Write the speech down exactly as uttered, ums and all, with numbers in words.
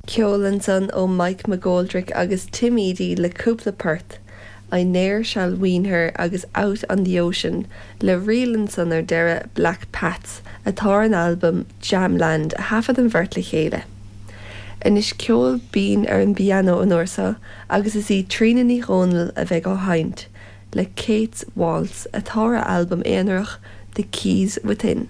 Ceol ansan ó Mike McGoldrick agus Tim Edey le cúpla port, I Ne'er Shall Wean Her agus Out on the Ocean, le ríl ansan ar deireadh Black Pats atá ar an albam Jamland a thaifead an bheirt le chéile. Anois ceol binn ar an bpianó an uair seo agus is í Tríona Ní Dhomhnaill a bheidh á sheinnt le Kate's Waltz atá ar a albam aonarach The Keys Within.